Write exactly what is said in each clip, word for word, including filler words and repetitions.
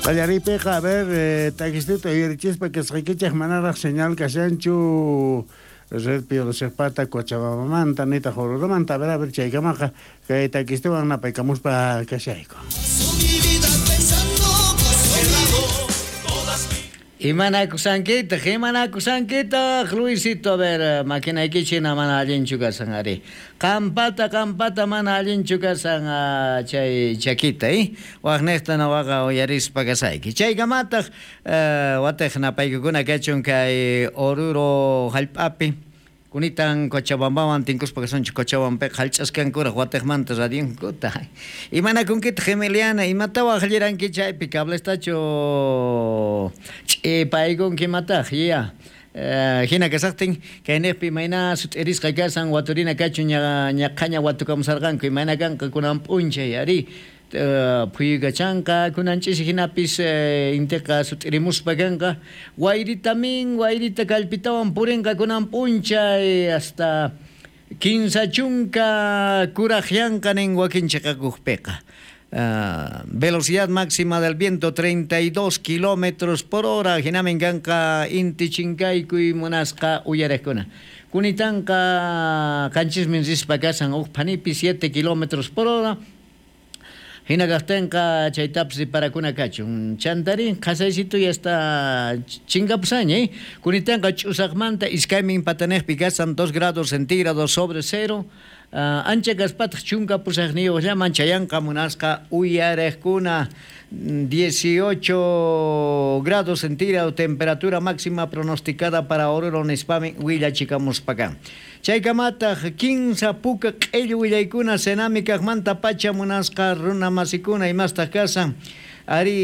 Qallariypiqa, a ver, eh, takistita uyarichispa kasqaykichej manaraj señal kashanchu red Piolosejpata Cochabambamanta nitaq Oruromanta. A ver, a ver, chaykamaqa kay takistiwan napaykamuspa kashayku. Imanakusankitaq, imanakusankitaq, Luisito, a ver, makinaykichina mana allinchu kasan ari. Qampata, qampata mana allinchu kasan uh, chay chakita, eh? Waqniqta nawaqa uyarispa kasayki. Chaykamataq, uh, wataq napaykukuna kachun kay Oruro hallp'api. Kunitan Cochabambawan tinkuspa kasunchik Cochabampiqa hallch'askankuraq wataqmanta radionkuta. Imanakunkitaq Emiliana, imatawan halliranki chaypi cablestachu ch'ipaykunki imataq, ya. Uh, hina kasaqtin kayniqpi imayna sut'irisqa kasan waturina kachun ña ñaqhaña watukamusarqanku imayna kanqa kunan p'unchay ari. Uh, phuyukachanqa kunan ch'isi hinapis uh, intiqa sut'irimuspa kanqa wayritamin wayrita kallpitawan purinqa kunan p'unchay hasta kinsa chunka kuraqyanqa nin wakin chiqakuqpiqa. Uh, velocidad máxima del viento treinta y dos kilómetros por hora hinamin kanqa inti chinkaykuy munasqa uyariqkuna. Kunitanqa qanchismin rispa kasan huk phanipi siete kilómetros por hora. Hina kaqtinqa chaytapis riparakuna kachun. Chantari qhasaysito ya está chinkapusaña, eh? Kunitanqa ch'usaqmanta iskaymin pataniqpi kasan dos grados centígrados sobre cero. Uh, ancha kaspataq chunka pusaqniyuqllaman chayanqa munasqa uyariqkuna dieciocho grados centígrados temperatura máxima pronosticada para Oruro nispami willachikamuspakan. Chaykamataq kinsa puka q'illu willaykuna Senami kaqmanta pacha munasqa runa masikuna imastaq kasan. Ari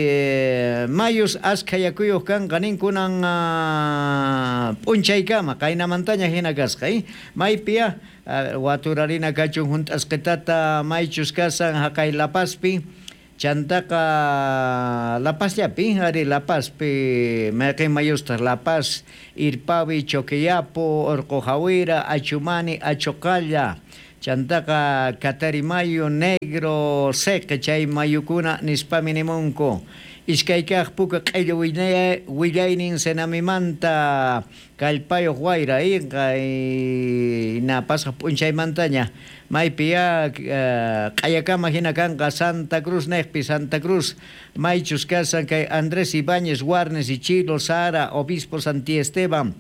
eh, mayus askha yakuyuq kanqa ninkunan uh, p'unchaykama qaynamantaña hina kasqa, eh? Maypiya uh, waturarina kachun hunt'asqitata maychus kasan haqay La Pazpi chantaqa La Pazllapi ari La Pazpi mayqin mayustaq La Paz, Irpavi, Choqueyapo, Orqojawira, Achumani, Achoqalla chantaqa Catarimayo, Negro, Seqe chay mayukuna nispami nimunku. Iskay kaq puka q'illu willaynin Senamimanta kallpayuq wayra inqa na pasaq p'unchaymantaña maypiya q'ayakama hina kanqa Santa Cruz niqpi Santa Cruz maychus kasan kay Andrés Ibáñez, Warnes, Ichilo, Sara, Obispo Santi Esteban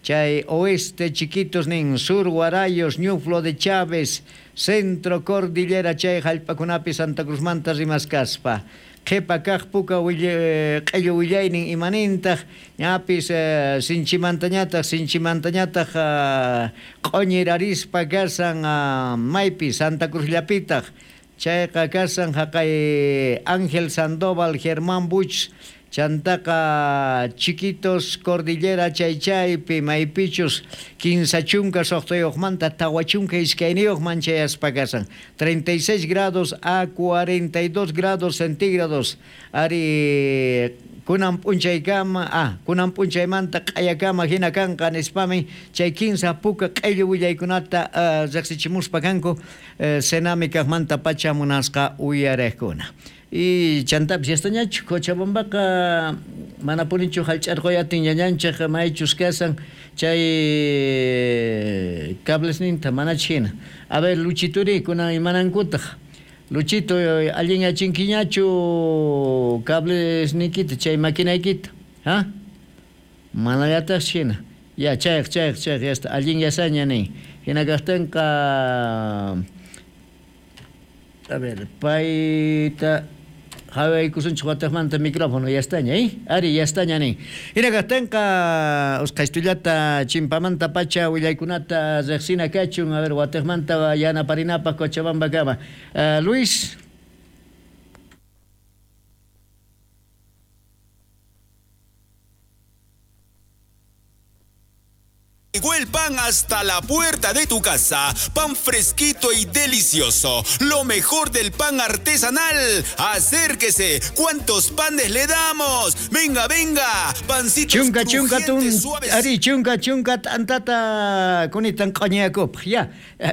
chay oeste Chiquitos nin, sur Guarayos, Ñuflo de Chávez, centro Cordillera chay hallp'akunapi Santa Cruzmanta rimaskaspa. Qhipa kaq puka q'illu willaynin imanintaq ñapis eh, sinchimantañataq sinchimantañataq uh, q'uñirarispa kasan uh, maypi Santa Cruzllapitaq chayqa kasan haqay Ángel Sandoval, Germán Buch chantaqa Chiquitos Cordillera chaychaypi maypichus kinsa chunka suqtayuqmanta tawa chunka iskayniyuqman chayaspa kasan treinta y seis grados a cuarenta y dos grados centígrados ari kunan p'unchaykama ah kunan p'unchaymanta q'ayakama hina kanqa nispami chay kinsa puka q'illu willaykunata uh, riqsichimuspa kanku uh, Senami kaqmanta pacha munasqa uyariqkuna. Y chantapis yastañachu Cochabambaqa mana punichu hallch'arquyatin ñañanchik maychus kasan chay cablesninta manach hina. A ver, Luchituri, kunan imanankutaq. Luchito, allin yachinkiñachu cablesniykita chay maquinaykita, ha? Manallataq hina. Ya, chayq, chayq, chayq, yasta allin yasaña nin. Hina kaqtinqa a ver, payta hawaykusunchik wataqmanta micrófono yastaña, eh? Ari, yastaña nin. Hina kaqtinqa usqhaystullata chimpamanta pacha willaykunata riqsina kachun, a ver, wataqmanta yanaparinapaq Cochabambakama. Uh, Luis. Llegó el pan hasta la puerta de tu casa. Pan fresquito y delicioso. Lo mejor del pan artesanal. Acérquese. ¿Cuántos panes le damos? Venga, venga. Pancitos chunka, chunka, tun, suaves. Ari, chunka, chunka, t'antata kunitan q'oñayakupaj. Ya,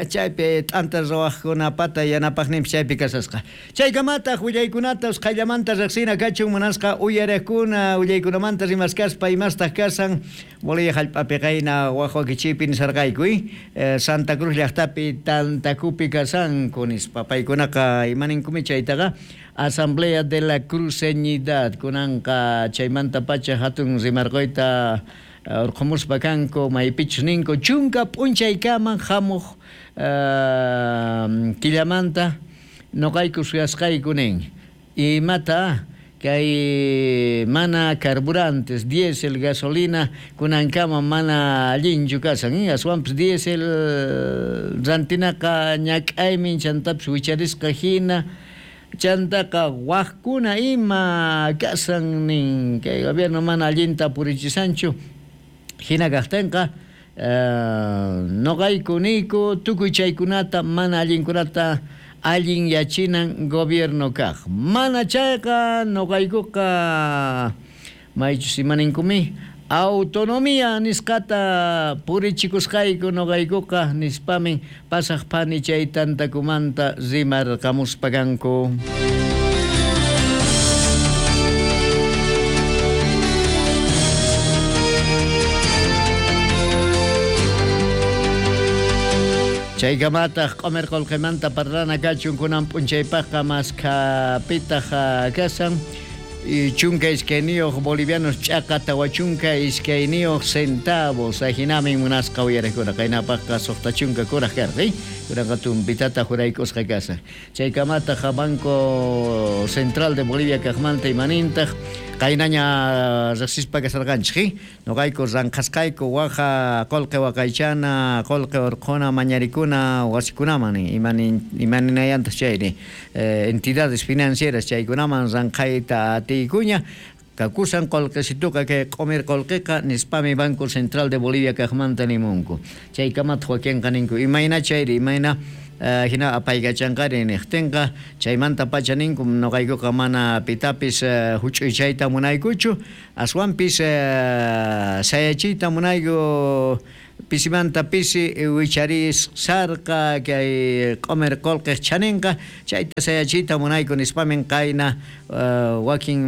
chaypi t'anta ruwajkunapata yanapajninpis chaypi kasasqa. Chaykamataq willaykunata usqhayllamanta riqsina kachun munasqa uyariqkuna willaykunamanta rimaskaspa imastaq kasan Bolivia jallp'api qayna waj wakichiypi nisarqayku, eh, Santa Cruz llaqtapi tantakupi kasanku nispa paykunaqa imaninkumi chaytaqa Asamblea de la Cruceñidad kunanqa chaymanta pacha hatun rimarquyta urqumuspa kanku maypichus ninku chunka p'unchaykaman hamuq uh, killamanta noqayku suyasqayku nin imata kay mana carburantes, diésel, gasolina, kunankama mana allinchu kasan, eh? Aswanpis diésel rantinaqa ñak'aymin chantapis wicharisqa hina, chantaqa wajkuna ima kasan nin, kay gobierno mana allinta purichisanchu, hina kaqtinqa uh, noqayku niyku tukuy chaykunata mana allinkunata allin yachinan gobierno kaq. Mana chayqa noqaykuqa maychus imaninkumi autonomía nisqata purichikusqayku noqaykuqa nispamin pasaq phani chay tantakumanta rimarqamuspa kanku. Chaykamataq q'umir qullqimanta parlana kachun kunan p'unchaypaqqa maskapitaq kasan chunka iskayniyuq bolivianos ch'aqa tawa chunka iskayniyuq centavos ajinamin munasqa uyariqkuna qaynapaqqa suqta chunka kuraq karqa kunanqa tumpitata juraykusqa kasan chaykamataq Banco Central de Bolivia kaqmanta imanintaq qaynaña riqsispa kasarqanchik noqayku ranqhasqayku waja qullqi waqaychana qullqi urqhuna mañarikuna wasikunaman imanin imaninayantaq chayri eh, entidades financieras chaykunaman ranqhayta atiykuña kakusan qullqisituqa kay q'umir qullqiqa nispami Banco Central de Bolivia kaqmanta nimunku chaykamataq wakinqa ninku imayna chayri imayna Uh, hina apaykachanqari niqtinqa chaymanta pacha ninku noqaykuqa mana pitapis uh, huch'uychayta munaykuchu aswanpis uh, sayachiyta munayku pisimanta pisi wicharis sarqa kay q'umir qullqiq chaninqa chayta sayachiyta munayku nispamin qayna uh, wakin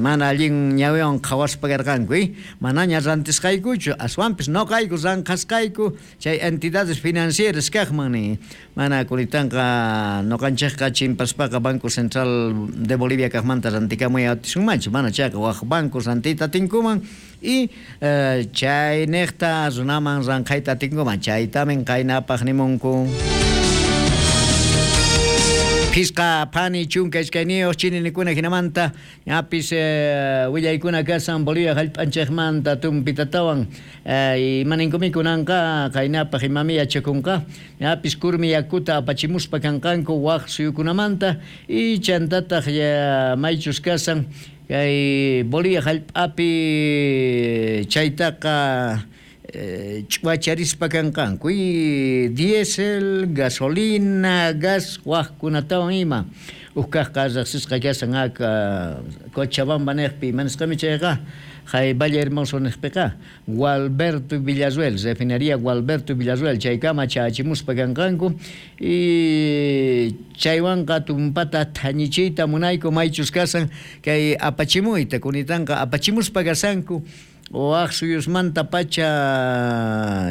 mana allin ñawiwan qhawaspa karqanku eh? Manaña rantisqaykuchu aswanpis noqayku ranqhasqayku chay entidades financieras kaqman ni mana kunitanqa noqanchikqa chimpaspaqa Banco Central de Bolivia kaqmanta rantikamuy atisunmanchu mana chayqa waq bancos rantiyta atinkuman y uh, chayniqta runaman ranqhayta atinkuman chaytamin qaynapaq nimunku. Pisqa phani chunka iskayniyuq chininikuna hinamanta ñapis eh, willaykuna kasan Bolivia jallp'anchikmanta tumpitatawan eh, imaninkumi kunanqa qaynapaq imami yachakunqa ñapis kurmi yakuta apachimuspa kanqanku waq suyukunamanta y chantataq ya maychus kasan kay Bolivia jallp'api chaytaqa ch'uwacharispa kanqanku y diésel, gasolina, gas waqkunatawan ima ukkaqqa riqsisqa kasan aka Cochabamba niqpi imanisqami chayqa hay Valle Hermoso niqpiqa Gualberto Villarruel, refinería Gualberto Villarruel chaykama chachimuspa kanqanku y chaywanqa tumpata thañichiyta munayku maychus kasan kay apachimuyta kunitanqa apachimuspa kasanku waq suyusmanta pacha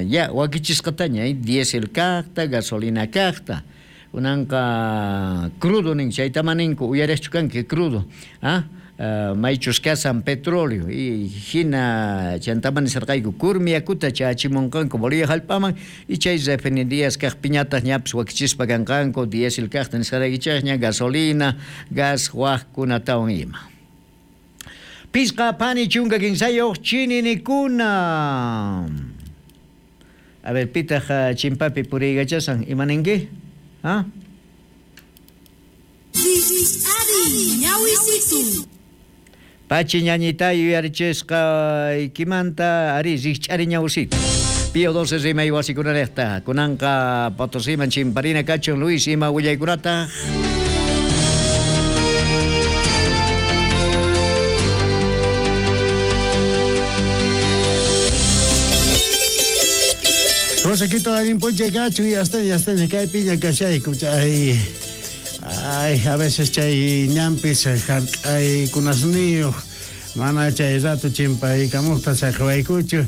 ya wakichisqataña eh? Diésel kaqta, gasolina kaqta kunanqa crudo nin chaytama ninku uyariqchu kanki crudo ah Uh, maychus kasan petróleo y hina chantaman nisarqayku kurmi yakuta chachimunqanku Bolivia jallp'aman y chay refinerías kaqpiñataq ñapis wakichispa kanqanku diésel kaqta nisqaraykichikña gasolina, gas waqkunatawan ima. Pisqa phani chunka kinsayuq chininikuna. A ver, pitaq chimpapi puriykachasan imaninki? ¿Ah? Pachi ñañita yuyarichisqa ikimanta ari rikch'ari ñawsita. Pío doce rimay wasikunarejta kunanqa Potosíman chimparina kachun Luis ima willaykunata. Rosaquito allin puncha kachu y hasta ya hasta kay piña kashayku chay ay a veces chay ñampis hark'ay kunasniyuq mana chay rato chimpaykamuqta saqawaykuchu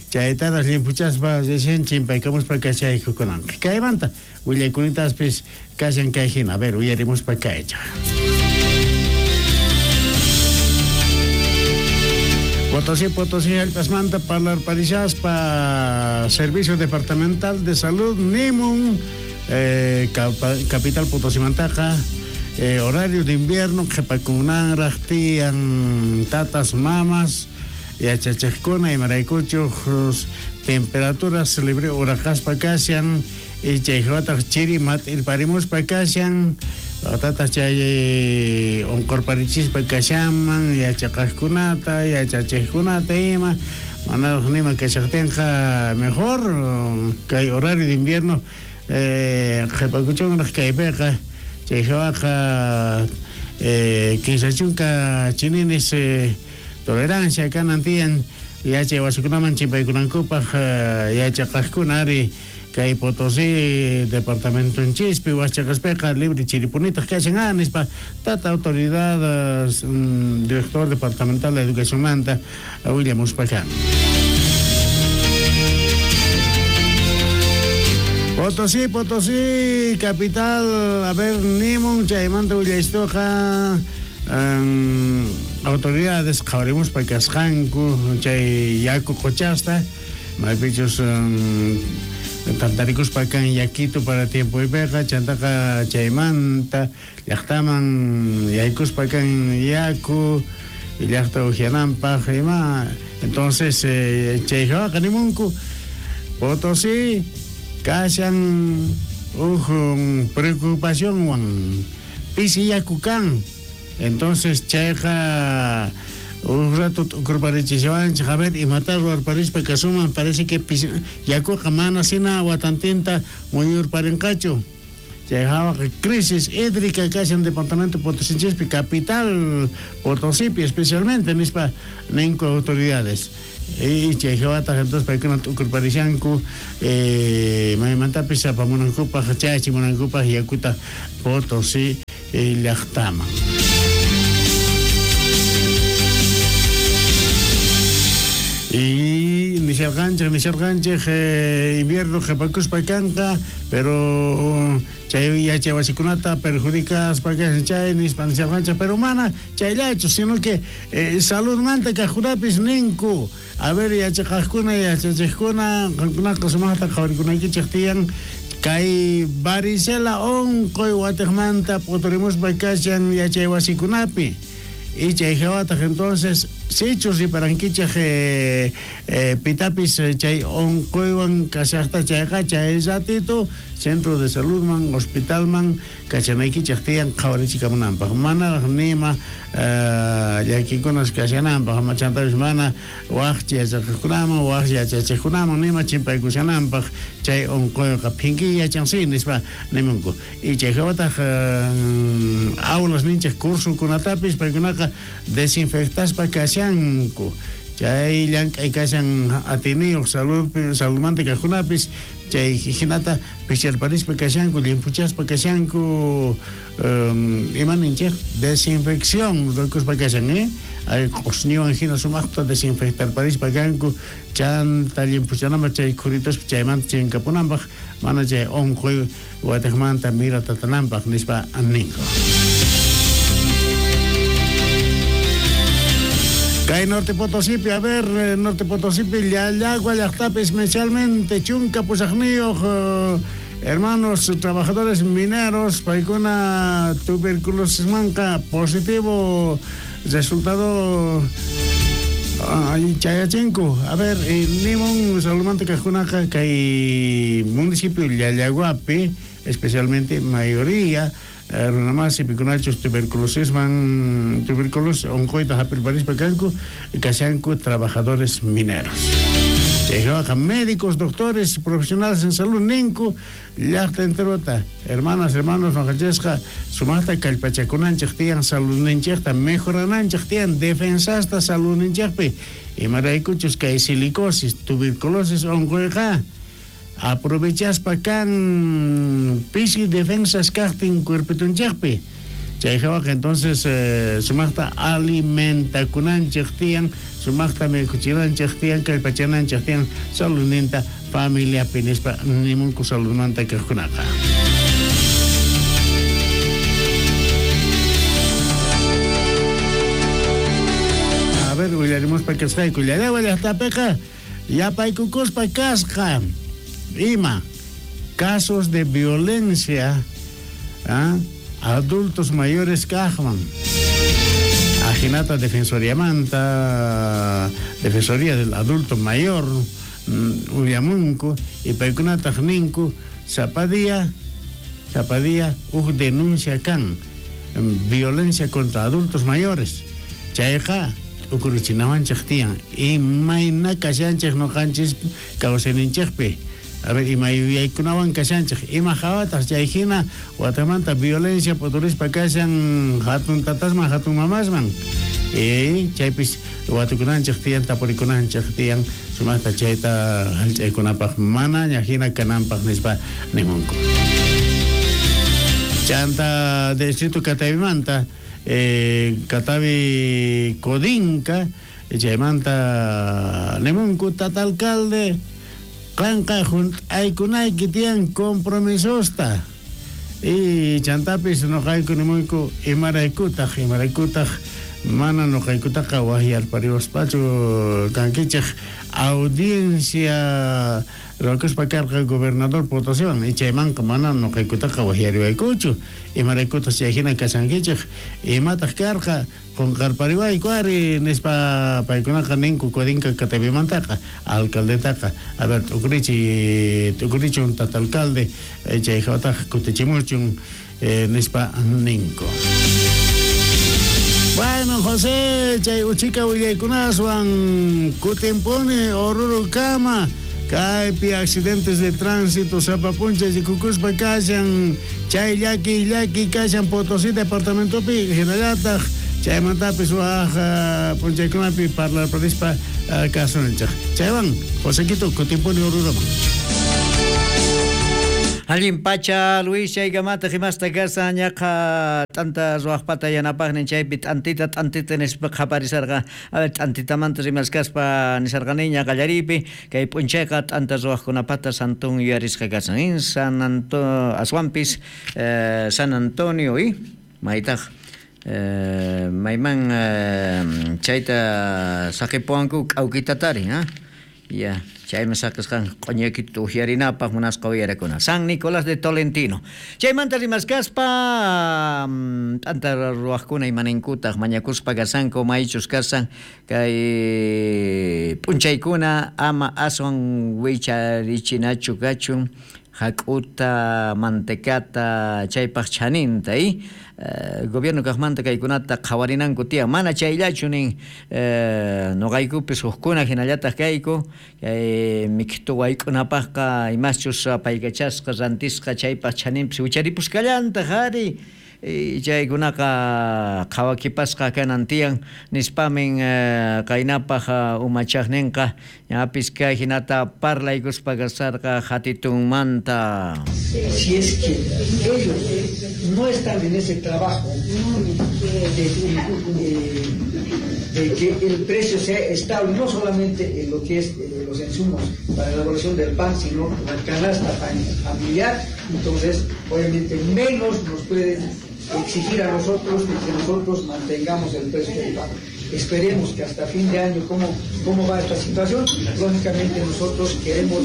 chaytaras limpuchaspa recién chimpaykamuspa kashayku kunanqa kaymanta willaykunitaspis kashan kay hina a ver uyarimuspa kaycha. Potosí, Potosí, Alpasmanta, parlarparishaspa, Servicio Departamental de Salud, Nimun, eh, Capital Potosí Mantaja, eh, horario de invierno, Jepacunan, Tian, tatas, mamas, yachachajkuna, imaraykuchus, temperaturas libre, urajaspa kashan, y chayjataq chiri mat'irparimuspa kashan, tata chay onqurparichispa kashanman, yachaqajkunata, yachachijkunata ima, manaraq nima kashaqtinqa mejor kay horario de invierno eh, qhipakuchunraq kaypiqa chayjawaqa eh, kinsa chunka chininis eh, tolerancia kanan tiyan yachay wasikunaman chimpaykunankupaq yachaqajkuna ari kay Potosí departamentonchispi waschaqaspiqa libre chiripunitaq kashan ah nispa tata autoridad um, director departamental de educación manta willamuspa kan. Potosí, Potosí, capital, a ver, nimun chaymanta willaystuqa um, autoridades qhawarimuspa kasqanku chay yaku qochasta maypichus um, tantarikuspa kan yakito para tiempo ipeqa chantaqa chaymanta llaqtaman yaykuspa kan yaku llaqta ujiananpaq ima entonces eh, chayjawaqa nimunku Potosí kashan uj preocupacionwan pisi yaku kan entonces chayqa un rato t'ukurparichishawanchik a ver imata ruwarparispa kasuman parece que yakuqa mana sina watantinta muyurparinqachu chayjawaqa crisis hídrica kashan departamento Potosinchispi capital Potosipi especialmente nispa ninku autoridades y chayjawataq entonces paykuna t'ukurparishanku eh, maymantapis apamunankupaq chayachimunankupaq yakuta Potosí llaqtaman. Y nisharqanchik nisharqanchik eh, invierno qhipakuspa kanqa pero chay yachay wasikunata perjudicaspa kashan chay nispa nisharqanchik pero mana chayllachu sino que eh, saludmanta kaqkunapis ninku a ver yachaqajkuna yachachiqkuna qankunaqa sumaqta qhawarikunaykichik tiyan kay varicela onqoy watiqmanta p'uturimuspa kashan yachay wasikunapi y chayjawataq entonces sichus riparankichik eh, eh, pitapis chay onqoywan kashaqta chayqa chay ratito centro de saludman hospitalman kachanaykichik tiyan qhawarichikamunanpaq manaraq nima eh, llakikunas kashananpaq machantapis mana waq yachaqkunaman waq yachachiqkunaman nima chimpaykushananpaq chay onqoyqa phinkiy yachansi nispa nimunku y chayjawataq eh, aulas ninchik cursokunatapis paykunaqa desinfectaspa kashanku chay llank'ay kashan atiniyuq salud saludmanta kaqkunapis chay hinata picharparispa kashanku limpuchaspa kashanku um, ima ninchik desinfección rukuspa kashan eh ay q'usñiwan hina sumaqta desinfectarparispa kanku chanta limpuchananpaq chay khuritaspa chaymanta chinkapunanpaq mana chay onqoy watiqmanta miratatananpaq nispa ninku. Kay Norte Potosipi, a ver, Norte Potosipi, Llallagua llaqtapi especialmente chunka pusaqniyuq eh, hermanos trabajadores mineros paykuna tuberculosismanqa positivo resultado ay chayachinku. A ver, eh, nimun saludmanta kaqkunaqa kay municipio Llallaguapi especialmente mayoría runamasi pikunachus tuberculosisman tuberculosis onqoyta hap'irparispa kanku kashanku trabajadores mineros. Chayqa médicos, doctores, profesionales en salud ninku llaqta enterota. Hermanas, hermanos, noqanchikqa sumaqta kallpachakunanchik tiyan saludninchikta mejorananchik tiyan defensasta saludninchikpi. Imaraykuchus kay silicosis, tuberculosis onquyqa aprovechaspa kan pisi defensas kaqtin cuerpitunchikpi. Chayqa entonces eh, sumaqta alimentakunanchik tiyan, sumaqta mikuchinanchik tiyan, kallpachananchik tiyan saludninta familiapi nispa nimunku saludmanta kaqkunaqa. A ver, willarimuspa kasqayku Llallagua llaqtapiqa yapaykukuspa kasqa ima casos de violencia, ¿ah? Adultos mayores kaqman. Ajinata Defensoría Manta, Defensoría del Adulto Mayor, uyamunku, y paykunataq ninku, sapa día, sapa día, uj denuncia kan, violencia contra adultos mayores. Chayqa, ukuruchinawanchik tiyan, imayna kashanchik noqanchis kawsayninchikpi. A ver, ima yuyaykunawan kashanchik, ima hawataq chay hina watamanta violencia puturispa kashan hatun tatasman, hatun mamasman. E chaypis watukunanchik tiyan, tapurikunanchik tiyan, sumaqta chayta hallch'aykunapaq manaña hina kananpaq nispa nimunku. Chanta distrito Catavimanta, eh, Catavi Codinca, chaymanta nimunku tata alcalde qanqa junt'aykunayki tiyan compromisosta. Y chantapis noqayku nimuyku imaraykutaq, imaraykutaq mana noqaykutaqa waqyarpariwaspachu kankichik audiencia ruwakuspa karqa gobernador Potosiwan y chaymanqa mana noqaykutaqa waqyariwaykuchu imaraykutaq chay hina kashankichik imataq karqa qunqarpariwayku ari nispa paykunaqa ninku Codinca Catavimantaqa alcaldetaqa. A ver, t'ukurichi t'ukurichun tata alcalde chay hawataq kutichimuchun eh, nispa ninku. Bueno, José, chay uchika willaykunaswan kutimpuni Oruro kama kaypi accidentes de tránsito sapa puncha rikukuspa kashan chay llaki llaki kashan Potosí departamentopi hinallataq chaymantapis waj punchaykunapi parlarparispa kasunchik. Chaywan, Josequito, kutimpuni Oruroman. Allin pacha Luis chaykamata himasta kasa ñaqa t'anta ruwaqpata yanapaqnin chaypi t'antita t'antita nispa qhaparisarqa. A ver, t'antitamanta rimaskaspa nisarqaniña qallariypi kay p'unchayqa t'anta ruwaqkunapata santun yuyarisqa kasan. In San Anto aswanpis eh, San Antonio y maytaq eh, mayman eh, chayta saqipuwanku k'awkitatari, ha? Ya, chayman saqisqan q'uñakita uyarinapaq munasqa uyarakuna. San Nicolás de Tolentino. Chaymanta rimaskaspa t'anta ruwaqkuna imaninkutaq mañakuspa kasanku maychus kasan kay p'unchaykuna ama aswan wicharichinachu kachun hak'uta mantecata chaypaq chaninta y eh, gobierno kaqmanta kaykunata qhawarinanku tiyan mana chayllachu nin eh, noqaykupis hukkuna hinallataq kayku kay miktu wayk'unapaqqa imaschus apaykachasqa rantisqa chaypaq chaninpis wicharipusqallantaq ari chaykunaqa qhawakipasqa kanan tiyan nispamin eh, qaynapaq umachaqninqa ñapis kay hinata parlaykuspa kasarqa hatitunmanta. Si es que ellos no están en ese trabajo de, de, de que el precio sea estable, no solamente en lo que es eh, los insumos para la elaboración del pan, sino la canasta familiar, entonces obviamente menos nos pueden exigir a nosotros que nosotros mantengamos el precio del pan. Esperemos que hasta fin de año cómo, cómo va esta situación. Lógicamente nosotros queremos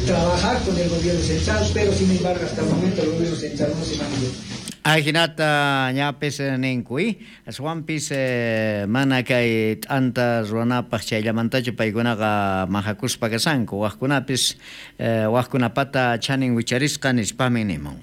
trabajar con el gobierno central, pero sin embargo hasta el momento el gobierno central no se manifiesta. Ajinata ñapis ninkuy, aswanpis eh, mana kay t'anta ruwanapaq chayllamantachu paykunaqa mahakuspa kasanku, waqkunapis eh, waqkunapata chanin wicharisqa nispami nimun.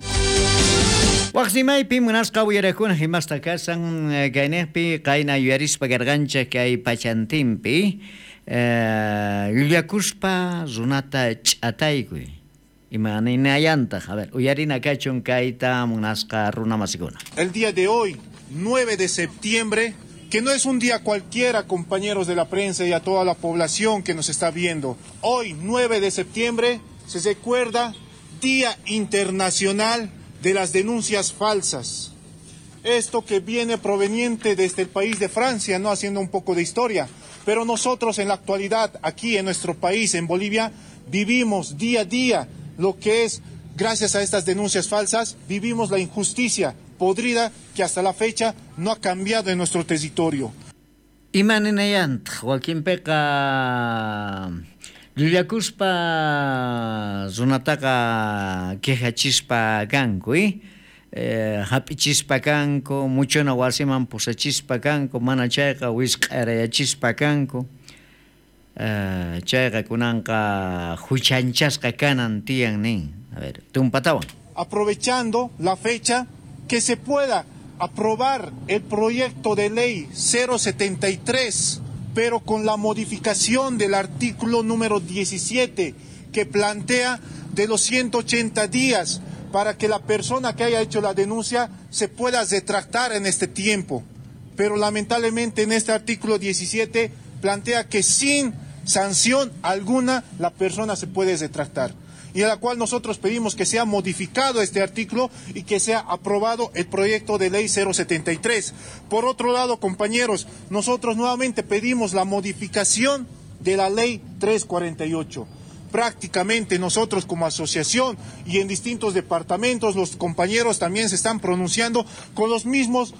Waqsimaypi munasqa uyarakuna himasta kasan kayniqpi qayna yuyarispa karqanchik kay pachantinpi Eh, llullakuspa runata ch'ataykuy. Imaninayantaq, a ver, uyarina kachun kayta munasqa runamasikuna. El día de hoy, nueve de septiembre, que no es un día cualquiera, compañeros de la prensa y a toda la población que nos está viendo. Hoy, nueve de septiembre, se recuerda Día Internacional de las Denuncias Falsas. Esto que viene proveniente desde el país de Francia, no haciendo un poco de historia, pero nosotros en la actualidad, aquí en nuestro país, en Bolivia, vivimos día a día lo que es, gracias a estas denuncias falsas, vivimos la injusticia podrida que hasta la fecha no ha cambiado en nuestro territorio. Imaninayantaq, wakinpiqa llullakuspa runataqa quejachispa kanku, eh? Eh, hap'ichispa kanku, muchona wasiman pusachispa kanku, mana chayqa wisq'arayachispa kanku. Eh, chayqa kunanqa huchanchasqa kanan tiyan nin. A ver, tumpatawan. Aprovechando la fecha, que se pueda aprobar el proyecto de ley cero setenta y tres, pero con la modificación del artículo número diecisiete, que plantea de los ciento ochenta días para que la persona que haya hecho la denuncia se pueda retractar en este tiempo. Pero lamentablemente en este artículo diecisiete plantea que sin sanción alguna la persona se puede retractar. Y a la cual nosotros pedimos que sea modificado este artículo y que sea aprobado el proyecto de ley cero setenta y tres. Por otro lado, compañeros, nosotros nuevamente pedimos la modificación de la ley trescientos cuarenta y ocho. Prácticamente nosotros como asociación y en distintos departamentos, los compañeros también se están pronunciando con los mismos,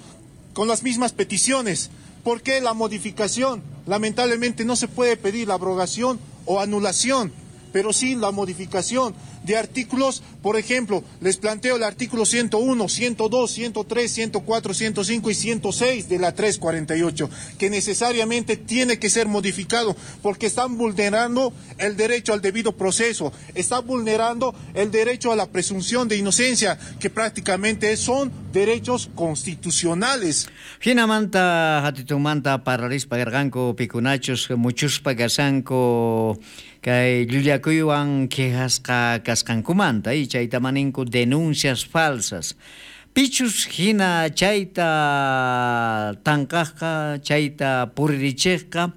con las mismas peticiones. ¿Por qué la modificación? Lamentablemente no se puede pedir la abrogación o anulación, pero sí la modificación de artículos. Por ejemplo, les planteo el artículo ciento uno, ciento dos, ciento tres, ciento cuatro, ciento cinco y ciento seis de la trescientos cuarenta y ocho, que necesariamente tiene que ser modificado porque están vulnerando el derecho al debido proceso, están vulnerando el derecho a la presunción de inocencia, que prácticamente son derechos constitucionales. Hinamanta hatitumanta parlarispa karqanku pikunachus muchuspa kashanku kay llullakuywan quejasqa kasqankumanta y chayta maninku denuncias falsas. Pichus hina chayta tanqajqa, chayta puririchejqa,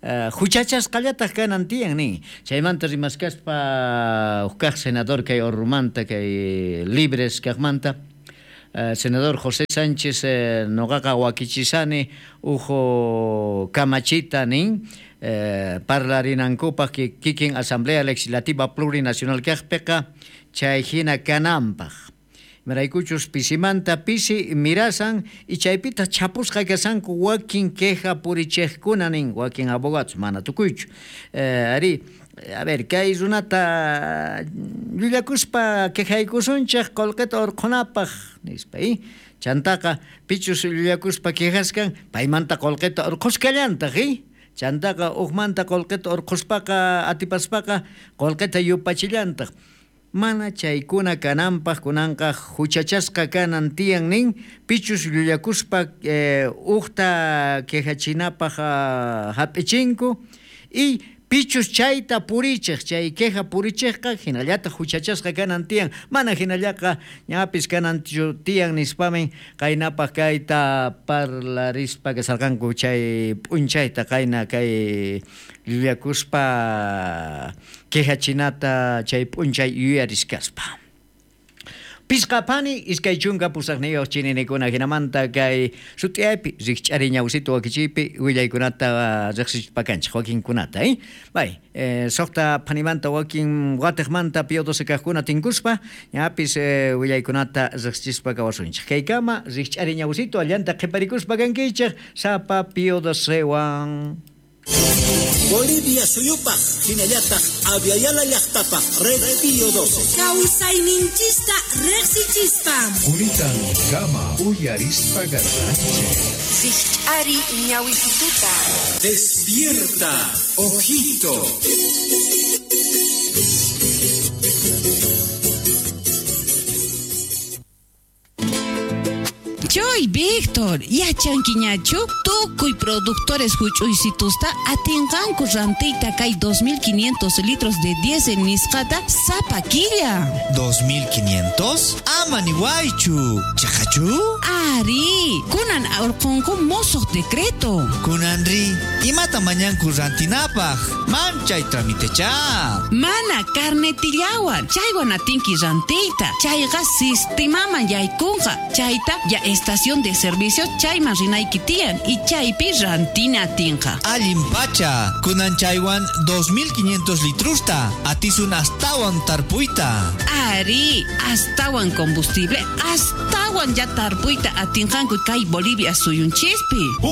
uh, huchachasqallataq kanan tiyan nin. Chaymanta rimaskaspa huk kaq senador kay Orrumanta, kay Libres kaqmanta, Uh, senador José Sánchez eh, noqaqa wakichisani ujo kamachita nin eh, parlarinankupaq kikin Asamblea Legislativa Plurinacional kaqpiqa chay hina kananpaq. Imaraykuchus pisimanta pisi mirasan y chaypita chapusqa kasanku wakin queja purichejkuna nin, wakin abogados mana tukuychu. Eh, ari, a ver, kay runata llullakuspa quejaykusunchej qullqita urqhunapaq nispa, eh? Chantaqa pichus llullakuspa quejaskan paymanta qullqita urqhuskallantaq, eh? Chantaqa uqmanta qullqita urqhuspaqa atipaspaqa qullqita yupachillantaq. Mana chaykuna kananpaq kunanqa huchachasqa kanan tiyan nin pichus llullakuspa eh, uqta quejachinapaq uh, hap'ichinku y pichus chayta purichej, chay queja purichejqa hinallataq huchachasqa kanan tiyan, mana hinallaqa ñapis kanan tiyan nispamin qaynapaq kayta parlarispa kasarqanku chay p'unchayta qayna kay llullakuspa quejachinata chay p'unchay yuyariskaspa. Pisqa pani iskay chunka pusaqniyuq chininikuna hinamanta kay sut'iyaypi rikch'ari ñawsitu wakichiypi willaykunata riqsispa kanchik wakinkunata, eh? Bay, eh, suqta panimanta wakin watiqmanta Pío doce kaqkuna tinkuspa ñapis eh, willaykunata riqsispa kawasunchik. Kaykama rikch'ari ñawsitu allanta qhiparikuspa kankichik sapa Pío docewan. Bolivia suyupaq hinallataq Aviala llaqtapaq Red Pío doce. Kawsayninchista riqsichispa. Quritan kama uyarispa garranchik. Rikch'ari ñawisituta. Despierta, ojito. Choy, Víctor. Héctor, yachankiñachu tukuy productores huch'uysitusta atinqanku rantiyta kay dos mil quinientos litros de diésel nisqata sapa killa. ¿dos mil quinientos? Ama niwaychu. Chaqachu? Ari, kunan urqunku mosoq decreto. Kunanri, imata mañanku rantinapaq? Manchay tramitecha. Mana carnetillawan, chaywan atinki rantiyta. Chayqa sistemaman yaykunqa. Chayta ya estación de servicio chayman rinayki tiyan y chaypi rantina atinqa. Allin pacha, kunan chaywan dos mil quinientos litrusta, atisun astawan tarpuyta. Ari, astawan combustible, astawan ya tarpuyta atinqanku kay Bolivia suyunchispi.